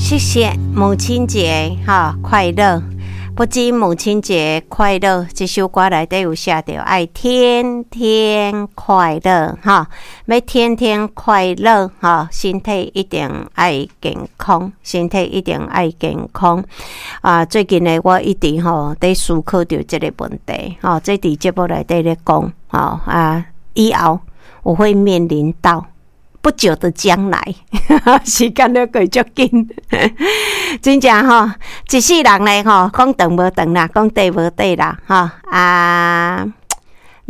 謝謝母親節哈快樂，不僅母親節快樂，這首歌內底有寫著愛天天快樂哈，欲天天快樂哈，身體一定愛健康，身體一定愛健康啊！最近呢，我一直吼佇思考著這個問題吼，這佇節目內底咧講吼啊，以後我會面臨到。不久的將來，時間咧過足緊，真正吼，一世人咧吼，講長無長啦，講短無短啦，吼啊，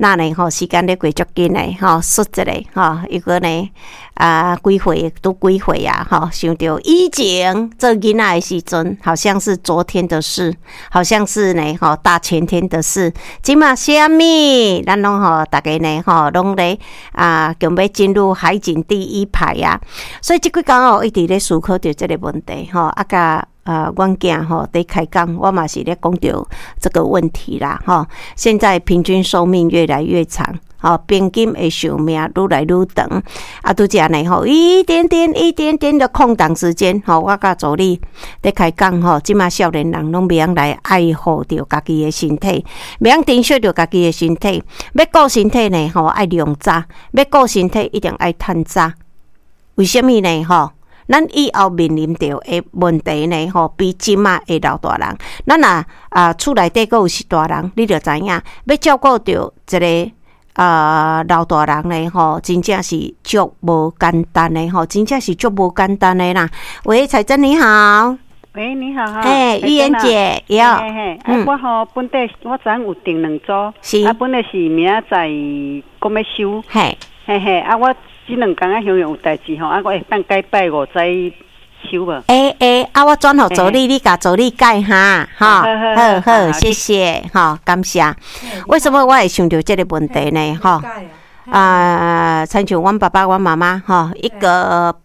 那呢吼，時間咧過足緊的吼，說一個吼，如果呢啊，幾歲都幾歲啊，吼，想著以前做囡仔的時陣，好像是昨天的事，好像是呢吼大前天的事。這馬啥物，咱攏吼，逐家呢吼，攏咧啊，準備進入海景第一排啊。所以這幾工哦，一直咧思考著這個問題吼，啊，佮阮囝吼佇開講，我嘛是咧講著這個問題啦吼。現在平均壽命越來越長。吼，平均的壽命愈來愈長，啊，拄才呢吼，一點點、一點點的空檔時間，吼，我佮助理佇開講吼，這馬少年人攏袂曉來愛護著家己的身體，袂曉珍惜著家己的身體。欲顧身體呢，吼，愛量早；欲顧身體，一定愛趁早。為啥物呢？吼，咱以後面臨著的問題呢，吼，比這馬的老大人，咱若啊厝內底閣有是大人，你就知影，欲照顧著一個啊，老大人呢，吼，真正是足無簡單的吼，真正是足無簡單的啦。喂，彩珍你好。喂，你好哈。哎，玉妍姐，喲。嘿嘿，啊，我吼本底我昨昏有訂兩組，啊，本來是明仔載閣欲收。嘿嘿，啊，我這兩工啊，想有代誌吼，啊，我會當改拜五再收無？欸欸，啊，我轉予助理，你共助理改哈，吼，好好，謝謝，吼，感謝。為什麼我會想著這個問題呢？吼，啊，親像阮爸爸、阮媽媽，吼，一個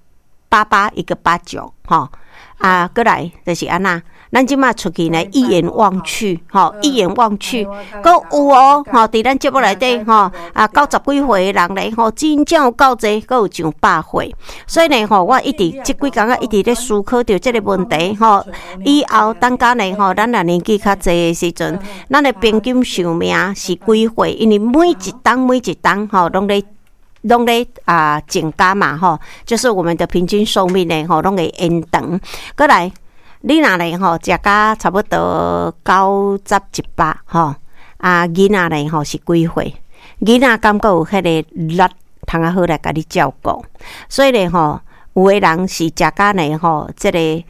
88，一個89，吼，啊，閣來就是按怎？咱這馬出去呢，一眼望去，吼，一眼望去，閣有哦，吼，佇咱節目內底，吼，啊，九十幾歲的人咧，吼，真正有夠濟，閣有上百歲，所以呢，吼，我一直這幾工啊，一直咧思考著這個問題，吼，以後等下呢，吼，咱若年紀較濟的時陣，咱的平均壽命是幾歲？因為每一冬每一冬，吼，攏咧啊增加嘛，吼，就是我們的平均壽命呢，吼，攏會延長。閣來。你若咧吼，食甲差不多九十一百吼，啊，囡仔咧吼是幾歲？囡仔敢閣有彼個力通仔好來共你照顧？所以咧吼，有的人是食甲咧吼，這個幾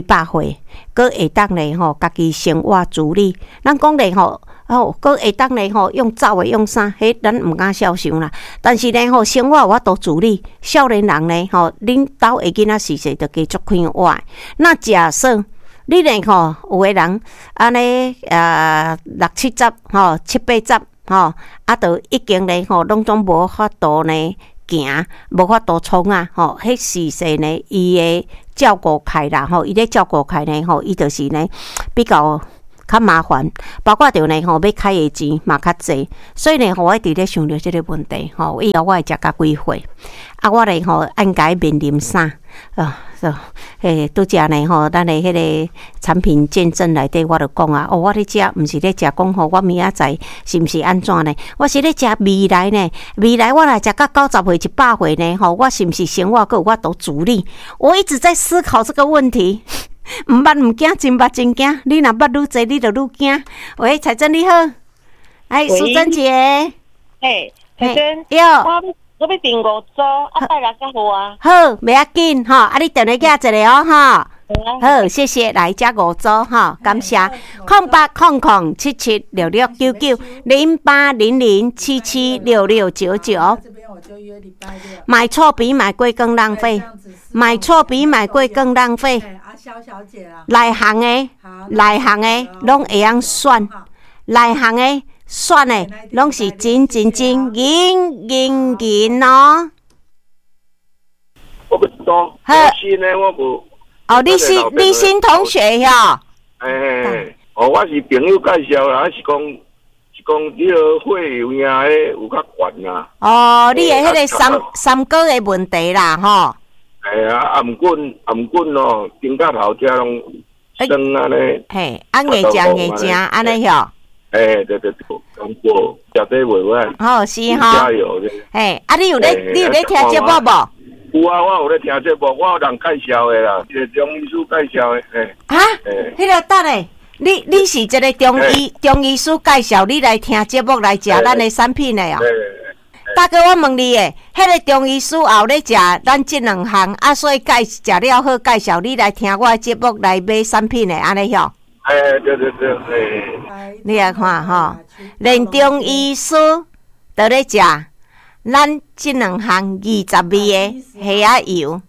百歲，閣會當咧吼，家己生活自理。咱講咧吼，哦，閣會當咧吼，用走的用啥？彼咱毋敢肖想啦。但是咧吼，生活有法度自理，少年人咧吼，恁兜的囡仔時勢就加足快活。那假設你咧吼，有的人按呢啊六七十吼，七八十吼，啊，就已經咧吼，攏總無法度呢行，無法度創啊吼，彼時勢呢，伊會照顧起來吼，伊咧照顧起來吼，伊就是呢比較較麻煩，包括著呢吼，欲開的錢嘛較濟，所以呢吼，我一直咧想著這個問題吼，以後我會食甲幾歲？啊，我咧吼應該面臨啥？啊，嘿，拄才呢吼，咱的彼個產品見證內底，我就講啊，哦，我咧食，毋是咧食講吼，我明仔載是毋是按怎呢？我是咧食未來呢，未來我若食甲90歲、100歲呢？吼，我是毋是生活閣有法度自理？我一直在思考這個問題。毋捌毋驚，真捌真驚。你若捌愈濟，你就愈驚。喂，彩珍你好，哎，淑珍姐，嘿，彩珍，喲，我欲訂五組，啊，拜六才好啊。好，袂要緊吼，啊，你電話寄一個哦，吼。好，謝謝，來這五組吼，感謝。0800776699，0800776699。買錯比買貴更浪費，買錯比買貴更浪費。內行的，內行的攏會曉選，內行的選的攏是金金金銀銀銀哦。我不懂，新的我無。哦，你新同學喲？欸，哦，我是朋友介紹啦，是講你個會有影的有較懸啊。哦，你的彼個三三高的問題啦，吼。嘿啊，啊毋過啊毋過哦，肩胛頭遮攏酸按呢。嘿，啊硬食硬食按呢吼。欸，對對對，講過，食這袂歹。好是吼。加油！嘿，啊你有咧，你有咧聽節目無？有啊，我有咧聽節目，我有人介紹的啦，一個中醫師介紹的。嘿。啊？彼個等下，你是一個中醫師介紹你來聽節目來食咱的產品的哦。大哥，我問你的，彼個中醫師也有咧食咱這兩項，啊，所以介食了好介紹你來聽我的節目來買產品的，按呢吼？欸，對對對，欸。你來看吼，連中醫師都咧食咱這兩項20味的蝦仔油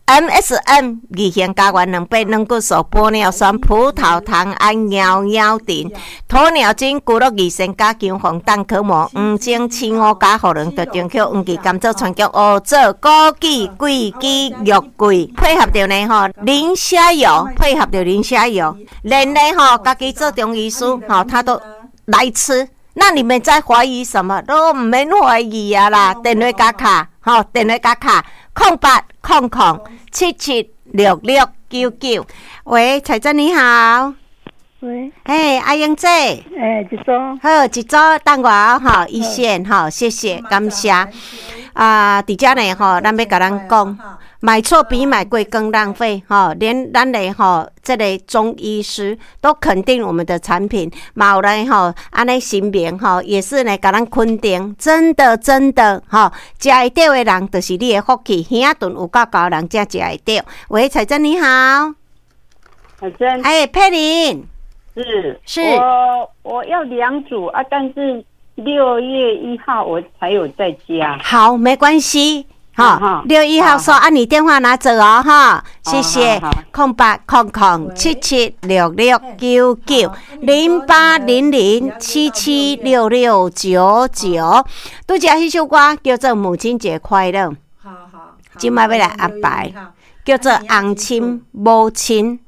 ，MSM 二型膠原蛋白、軟骨素、玻尿酸、葡萄糖胺、貓貓定、鴕鳥精、龜鹿二仙加強防彈殼膜、黃精、青烏加荷蘭特中曲、黃芪、甘草、川芎、烏棗、枸杞、桂枝、玉桂，配合著呢吼，磷蝦油，配合著磷蝦油，連呢吼，家己做中醫師吼，他都來吃。那你們在懷疑什麼？都毋免懷疑啊啦！電話共敲，吼，電話共敲，0800776699。喂，彩珍你好。喂。嘿，阿英姐。欸，一組。好，一組等我吼，一線吼，謝謝，感謝。啊，佇遮呢吼，咱欲共咱講，買錯比買貴更浪費吼，連咱的吼這个中醫師都肯定我們的產品，嘛有來吼按呢神明吼也是呢共咱肯定，真的真的吼，食會著的人就是你的福氣，耳仔鈍有夠厚的人才食會著。喂，彩珍你好，彩珍，哎，佩玲，是是，我要兩組啊，但是6月1號我才有在家。好，沒關係。好，6月1號說啊，你電話拿走哦，哈，謝謝。0800776699，0800776699。拄才彼首歌叫做《母親節快樂》。好好，這擺欲來安排，叫做翁親母親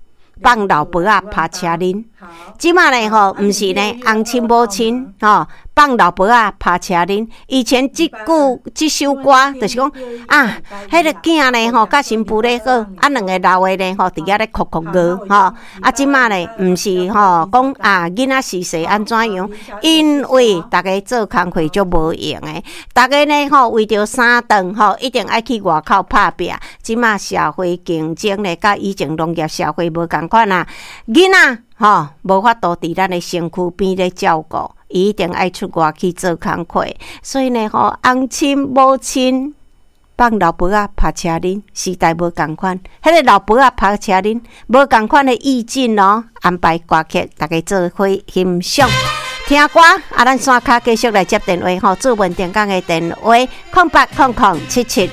放老婆仔拍車輪。這擺呢吼，毋是呢，翁親母親吼放老婆仔拍車輪。以前這句這首歌就是講啊，彼个囝呢吼，佮新婦咧好，啊兩个老的呢吼，佇遐咧哭哭鬧吼。啊，這擺呢毋是吼，講啊囡仔時勢按怎樣？因為逐家做工課足無閒的，逐家呢吼為著三頓吼，一定愛去外口拍拚。這擺社會競爭呢，佮以前農業社會無仝款啊，囡仔吼無法度佇咱的身軀邊咧照顧，伊一定愛出外去做工課。所以呢吼，翁親母親放老婆仔拍車輪，時代無仝款。彼个老婆仔拍車輪，無仝款的意境哦。安排歌曲，大家做伙欣賞。聽歌，啊，咱線跤繼續來接電話吼，主文電講的電話：08007766。